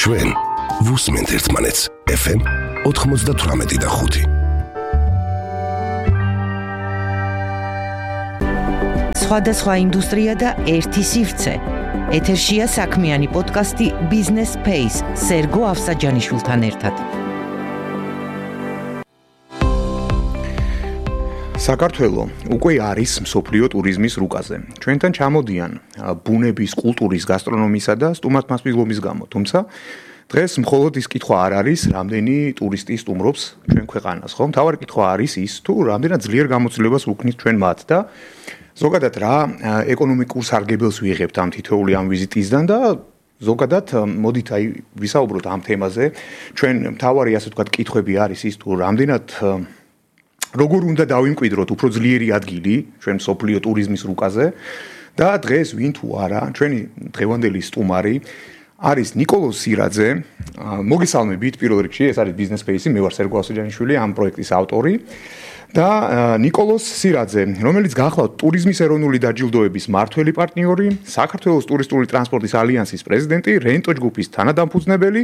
ჩვენ ვუსმენთ ერთმანეთს FM 98.5. სხვადასხვა ინდუსტრია და ერთი სივრცე. ეთერშია საქმიანი პოდკასტი Business Space სერგო ავსაჯანიშვილთან ერთად. საქართველო უკვე არის მსოფლიო ტურიზმის რუკაზე. ჩვენთან ჩამოდიან ბუნების, კულტურის, გასტრონომისა და სტუმართმასპინძლობის გამო. თუმცა დღეს მხოლოდ ის კითხვა არ არის, რამდენი ტურისტი სტუმრობს ჩვენ ქვეყანას, ხო? მთავარი კითხვა არის ის, თუ რამდენად ძლიერ გამოცდილებას ვუქმნით ჩვენ მათ და ზოგადად რა ეკონომიკურ სარგებელს ვიღებთ ამ თითოეული ამ ვიზიტისგან და ზოგადად მოდით აი ვისაუბროთ ამ თემაზე. ჩვენ მთავარი ასე ვთქვათ კითხვები არის ის, თუ რამდენად როგორ უნდა დავიმკვიდროთ უფრო ძლიერი ადგილი ჩვენ მსოფლიო ტურიზმის რუკაზე და დღეს ვინ თუ არა ჩვენი დღევანდელი სტუმარი არის ნიკოლოზ სირაძე. მოგესალმებით პირველ რიგში, ეს არის Business Space, მე ვარ სერგო ავსაჯანიშვილი, ამ პროექტის ავტორი. და ნიკოლოზ სირაძე, რომელიც გახლავთ ტურიზმის ეროვნული დაჯილდოების მმართველი პარტნიორი, საქართველოს ტურისტული ტრანსპორტის ალიანსის პრეზიდენტი, რენტო ჯგუფის თანადამფუძნებელი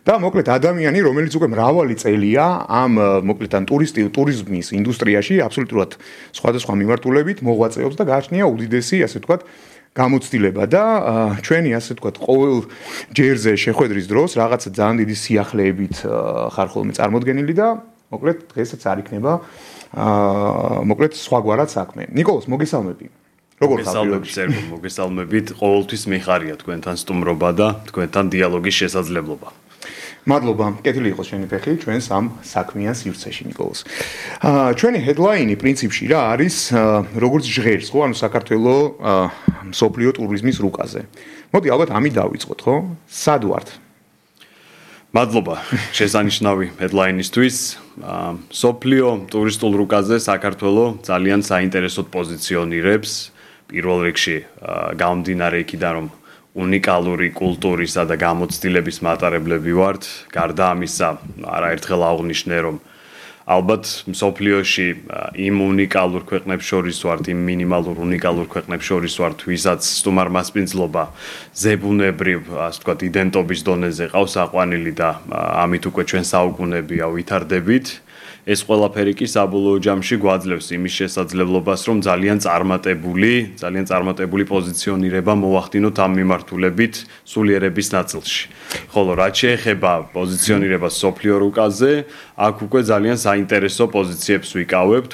და მოკლედ ადამიანი, რომელიც უკვე მრავალი წელია ამ მოკლედ ან ტურიზმის ინდუსტრიაში აბსოლუტურად სხვადასხვა მიმართულებით მოღვაწეობს და გააჩნია უდიდესი, ასე ვთქვათ, გამოცდილება და ჩვენი ასე ვთქვათ ყოველ ჯერზე შეხვედრის დროს რაღაცა ძალიან დიდი სიახლეებით ხარ ხოლმე წარმოდგენილი და მოკლედ დღესაც არ იქნება მოკლედ სხვაგვარად საქმე. ნიკოლოზ, მოგესალმები. როგორ ხართ? მოგესალმებით. ყოველთვის მიხარია თქვენთან სტუმრობა და თქვენთან დიალოგის შესაძლებლობა. მადლობა. კეთილი იყოს შენი ფეხი ჩვენს ამ საქმიან სივრცეში, ნიკოლოზ. ჩვენი headline-ი პრინციპში რა არის, როგორც ჟღერს, ხო, ანუ საქართველოს მსოფლიო ტურიზმის რუკაზე. მოდი ალბათ ამით დავიწყოთ, ხო? სად ვართ? მადლობა შესანიშნავი headline-ისთვის. მსოფლიო ტურისტულ რუკაზე საქართველო ძალიან საინტერესოდ პოზიციონირებს. პირველ რიგში გამომდინარე იქიდან, რომ უნიკალური კულტურისა და გამოცდილების მატარებლები ვართ. გარდა ამისა, არაერთხელ აღვნიშნე, რომ ალბათ მსოფლიოში იმ უნიკალურ ქვეყნებს შორის ვართ, იმ მინიმალურ უნიკალურ ქვეყნებს შორის ვართ, ვისაც სტუმართმასპინძლობა ზებუნებრივ, ასე ვთქვათ, იდენტობის დონეზე ყავს აყვანილი და ამით უკვე ჩვენ საუკუნეებია ვითარდებით. ეს ყველაფერი კი საბოლოო ჯამში გვაძლევს იმის შესაძლებლობას, რომ ძალიან წარმატებული პოზიციონირება მოვახდინოთ ამ მიმართულებით სულიერების ნაწილში. ხოლო რაც შეეხება პოზიციონირებას მსოფლიო რუკაზე, აქ უკვე ძალიან საინტერესო პოზიციებს ვიკავებთ.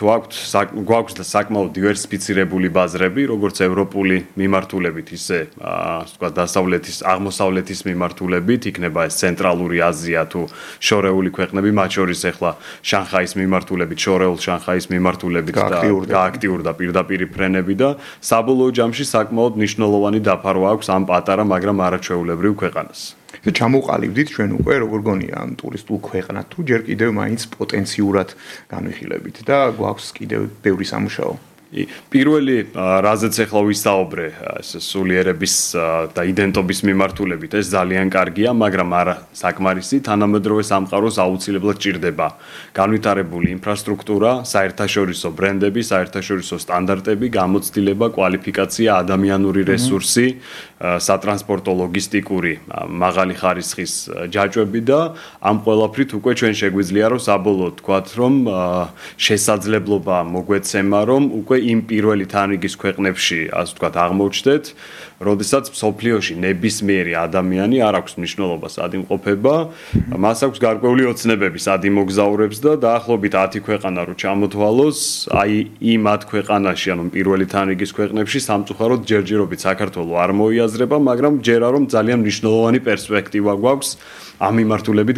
გვაქვს საკმაოდ დივერსიფიცირებული ბაზრები, როგორც ევროპული მიმართულებით, ისე ასე ვთქვათ, დასავლეთის, აღმოსავლეთის მიმართულებით, იქნება ეს ცენტრალური აზია თუ შორეული ქვეყნები, მათ შორის ახლა შანხაის მიმართულებით, შორეულ შანხაის მიმართულებით და გააქტიურდა პირდაპირი ფრენები და საბოლოო ჯამში საკმაოდ მნიშვნელოვანი დაფარვა აქვს ამ პატარა, მაგრამ არაჩვეულებრივ ქვეყანას. ჩამოვყალიბდით ჩვენ უკვე როგორ გონია ამ ტურისტულ ქვეყნად თუ ჯერ კიდევ მაინც პოტენციურად განვიხილებით და გვაქვს კიდევ ბევრი სამუშაო. პირველი რაზეც ახლა ვისაუბრე, ეს სულიერების და იდენტობის მიმართულებით, ეს ძალიან კარგია, მაგრამ არა საკმარისი, თანამედროვე სამყაროს აუცილებლად ჭირდება განვითარებული ინფრასტრუქტურა, საერთაშორისო ბრენდები, საერთაშორისო სტანდარტები, გამოცდილება, კვალიფიკაცია, ადამიანური რესურსი, სატრანსპორტო ლოგისტიკური მაღალი ხარისხის ჯაჭვები და ამ ყველაფრით უკვე ჩვენ შეგვიძლია რომ საბოლოოდ თქვათ, რომ შესაძლებლობა მოგვეცემა, რომ უკვე იმ პირველი თანრიგის ქვეყნებში, ასე ვთქვათ, აღმოჩნდეთ, როდესაც მსოფლიოში ნებისმიერი ადამიანი არ აქვს მნიშვნელობა სად იმყოფება, მას აქვს გარკვეული ოცნებები სად იმოგზაურებს და დაახლოებით 10 ქვეყანა რო ჩამოთვალოს, აი იმ 10 ქვეყანაში, ანუ პირველი თანრიგის ქვეყნებში სამწუხაროდ ჯერჯერობით საქართველოს არ მოიაზრება, მაგრამ ჯერა რომ ძალიან მნიშვნელოვანი პერსპექტივა გვაქვს ამ მიმართულებით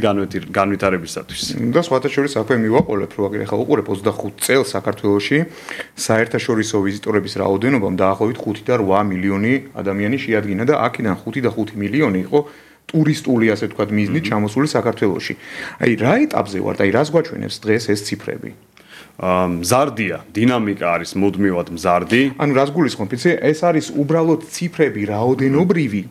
განვითარებისათვის. და სხვათა შორის აქვე მივაყოლებ, რომ ახლა უყურებ 25 წელს საქართველოში საერთაშორისო ვიზიტორების რაოდენობამ დაახლოებით 5 და 8 მილიონი ადამიანი შეადგინა და აქედან 5 და 5 მილიონი იყო ტურისტული, ასე ვთქვათ, მიზნით ჩამოსული საქართველოში. აი რა ეტაპზე ვართ, აი რას გვაჩვენებს დღეს ეს ციფრები? მზარდია, დინამიკა არის მუდმივად მზარდი. ანუ რას გულისხმობ, იცი, ეს არის უბრალოდ ციფრები რაოდენობრივი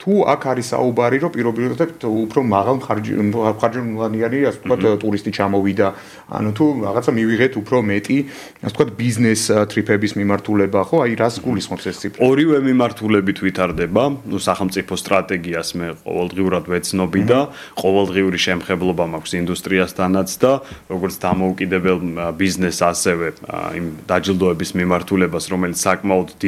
თუ აქ არის საუბარი, რომ პირობითად უფრო მაღალ ხარჯმულიანი, ასე ვთქვათ, ტურისტი ჩამოვიდა, ანუ თუ რაღაცა მივიღეთ უფრო მეტი, ასე ვთქვათ, ბიზნეს ტრიპების მიმართულება, ხო? აი რას გულისხმობს ეს ციფრი? ორივე მიმართულებით ვითარდება, ნუ სახელმწიფო სტრატეგიას მე ყოველდღიურად ვეცნობი და ყოველდღიური შემხებლობა მაქვს ინდუსტრიასთანაც და როგორც დამოუკიდებელ ბიზნესს ასევე იმ დაჯილდოების მიმართულებას, რომელიც საკმაოდ